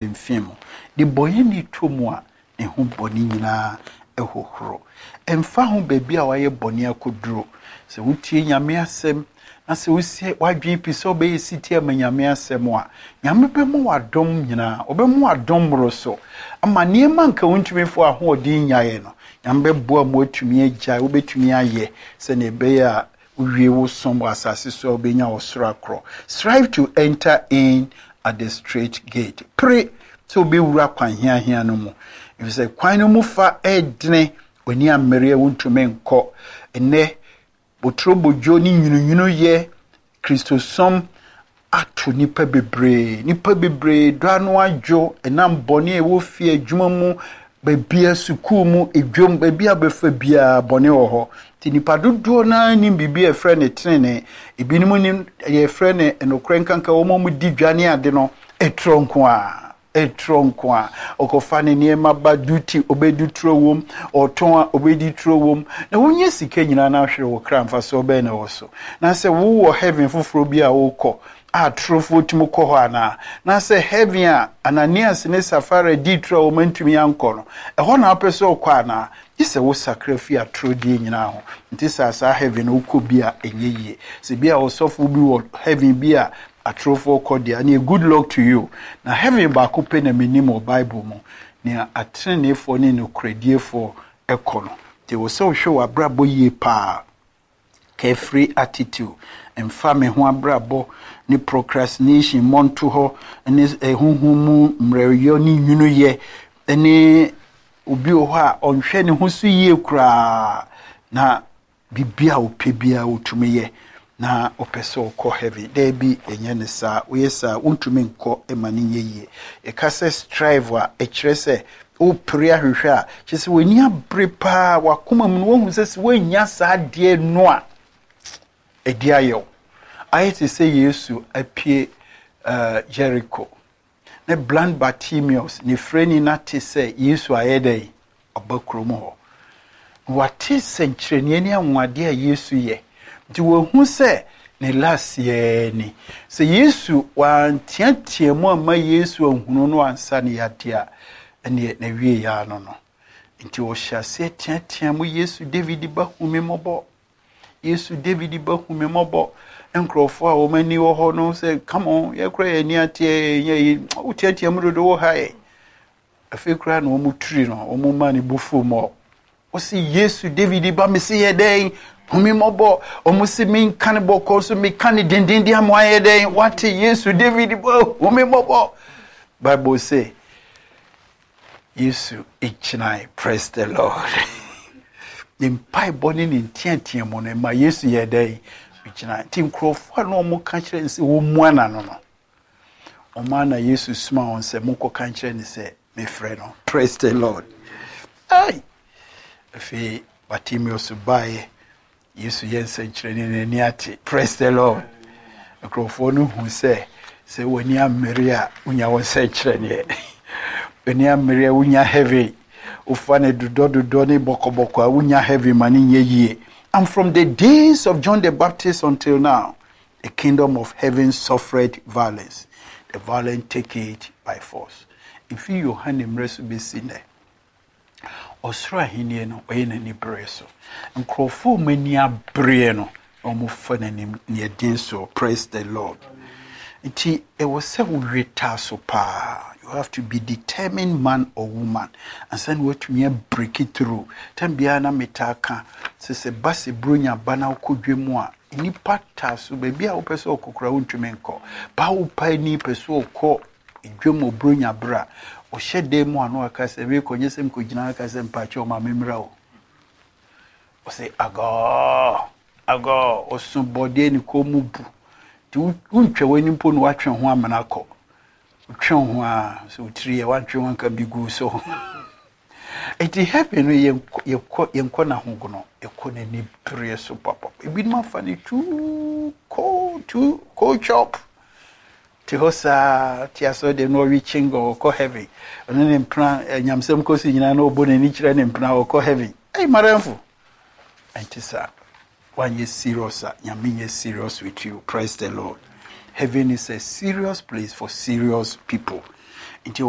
Mfe mu. Nnebɔneyɛni tɔ mu a, ne ho bɔne nyinaa hohoro. Ɛmfa ho baabi a wayɛ bɔne akɔduro, sɛ wotie Nyame asɛm na sɛ wosi w'adwene pi sɛ wobɛyɛ setie ama Nyame asɛm a, Nyame bɛma wo adom nyinaa, ɔbɛma wo adom mmoroso ama nneɛma nka wontumi mfa w'ahoɔden nyaeɛ no, Nyame bɛboa ma woatumi agyae, wobɛtumi ayɛ sɛdeɛ ɛbɛyɛ a wowie wo som wɔ asase so a wobɛnya ɔsoro akorɔ. Strive to enter in at the straight gate. Pere sɛ wobɛwura kwan hiahia no mu, efisɛ kwan no mu fa ɛredene, w'ani ammere a wontumi nkɔ. Ɛnnɛ, boturobodwo ne nwununwunu yɛ Kristosom ato nnipa bebree. Nnipa bebree dɔ ano adwo ɛnam bɔne a ɛwɔ fie, adwuma mu, baabia, sukuu mu, edwam, baabi a bɛfa biara bɔne wɔ hɔ. Nti nnipa dodoɔ no ara nim biribi a yɛfrɛ no tenenee. Ebinom nim yɛfrɛ no nokorɛ nkanka wɔn a wɔdi dwa ne ade no, ɛtorɔ nko ara. Ɛtorɔ nko ara. Ɔkɔfa ne nneɛma ba duty, ɔbɛdi torɔ wom, ɔtɔn a ɔbɛdi torɔ wom. Na wonya sika nyinaa na ahwere wo kra, mfasoɔ bɛn na ɛwɔ so? Na sɛ wowɔ heaven foforɔ bi a wokɔ a torofoɔ tumi kɔ hɔ anaa? Na sɛ heaven a Ananias ne Safira dii toro a wɔn antumi ankɔ no, ɛhɔ na wopɛ sɛ wokɔ anaa? Gye sɛ wosakra fi atorɔdie nyinaa ho. Nti saa saa heaven no wokɔ bi a ɛnyɛ yie. Sɛ bi a ɔsɔfo bi wɔ heaven bi a atorofoɔ kɔ deɛ, ɛneɛ good luck to you. Na heaven baako pɛ na menim wɔ Bible mu, nea ateneneefoɔ ne nokorɛdiefoɔ kɔ no. Nti ɛwɔ sɛ wohwɛ w'abrabɔ yie paa. Carefree attitude, mfa me ho abrabɔ ne procrastination mmɔnto hɔ ne honhom mu mmerɛwyɛ ne nwunuyɛ ne obi wɔ hɔ a ɔnhwɛ ne ho so yie koraa na biribi a ɔpɛ biara ɔtumi yɛ na ɔpɛ sɛ ɔkɔ heaven. Daabi, ɛnyɛ ne saa. Woyɛ saa, wontumi nkɔ ma no nyɛ yie. Yɛka sɛ strive a, ɛkyerɛ sɛ wopere ahwehwɛ a, kyerɛ sɛ w'ani abere paa, w'akoma mu no woahu sɛ sɛ woannya saa adeɛ no a, ɛdi ayɛ wo. Ayɛ te sɛ Yesu apue Jericho na blind Bartimaeus ne firani no ate sɛ Yesu ayɛ dɛn? Ɔba kurom hɔ. Wate sɛnkyerɛnneɛ ne anwanwadeɛ a Yesu yɛ. Nti wahu sɛ ne last yɛ ni. Sɛ Yesu wanteatea mu amma Yesu anhunu no ansa ne yadeɛ a, ɛneɛ na wie yɛ ano no. Nti ɔhyɛ aseɛ teatea mu, Yesu David ba, hu me mmɔbɔ. Yesu David ba, hu me mmɔbɔ. Nkurɔfoɔ a wɔn ani wɔ hɔ no sɛ, come on, yɛkora yɛn ani ateɛ, yɛ yi, woteatea mu dodo wɔ ha yɛ. Afei koraa na wɔn tiri no, wɔn ma ne bo fu mɔ. Wɔsi Yesu David ba, me se yɛ dɛn? Hu me mmɔbɔ. Wɔn si me nka ne bɔkɔ so, me ka ne dendenden ama ayɛ dɛn? Wate Yesu David ba, hu me mmɔbɔ. Bible say, Yesu gyinae, praise the Lord. Ne mpaebɔ ne ne nteatea mu no, ma Yesu yɛ dɛn? Gyinae. Nti nkurɔfoɔ a na wɔn ka kyerɛ no sɛ wɔmmua n'ano no, wɔn a na Yesu soma wɔn sɛ monkɔka nkyerɛ no sɛ mefrɛ no. Praise the Lord. Ai! Afei Bartimaeus baeɛ, Yesu yɛ nsɛnkyerɛnne n'ani ate. Praise the Lord. Nkurɔfoɔ no hu sɛ sɛ w'ani ammere a wonya wɔn nsɛnkyerɛnneɛ. W'ani ammere a wonya heaven. Wofa ne dodɔ ne bɔkɔbɔkɔ a wonya heaven ma ne nyɛ yie. And from the days of John the Baptist until now, the kingdom of heaven suffered violence. The violent take it by force. Mfi Yohane mmerɛ so bɛsi nnɛ, ɔsoro ahenni no ɔyɛ n'ani bere so. Nkurɔfoɔ a wɔn ani abereɛ no, wɔfa n'anim neɛ den so. Praise the Lord. Nti ɛwɔ sɛ wowe taa so paa. You have to be determined man or woman. Ansa na woatumi abreak it through. Tam biara na metaa ka sɛ ba sɛ buronya ba na wokɔ dwa mu a, nnipa taa so baabi a wopɛ sɛ ɔkɔ koraa wontumi nkɔ. Ba wo pa ani pɛ sɛ ɔkɔ dwam wɔ buronya berɛ a, ɔhyɛ dan mu a na waka sɛ meekɔ nyɛ sɛ mekɔgyina aka sɛ mpakyɛ ɔma memmra o. Ɔsɛ agɔɔ agɔɔ ɔso bɔdeɛ ne kɔn mu bu. Nti wontwa w'ani mpo na woatwe ho amena kɔ. Wotwe ho a sɛ wotiri yɛ woantwe ho anka bi gu so. Nti heaven no yɛnkɔ yɛnkɔ n'ahogono, yɛkɔ n'ani bereɛ so papa. Ebinom afa ne too cold, too cold chop. Te hɔ saa te asɔ deɛ na ɔwe chingo ɔkɔ heaven. Ɔno ne mpena nyamsɛm kɔ so nyinaa na ɔbɔ n'ani kyerɛ ne mpena ɔkɔ heaven. Ɛy madamfo. Ɛnte saa. Wanyɛ serious a, Nyame nyɛ serious with you. Praise the Lord. Heaven is a serious place for serious people. Nti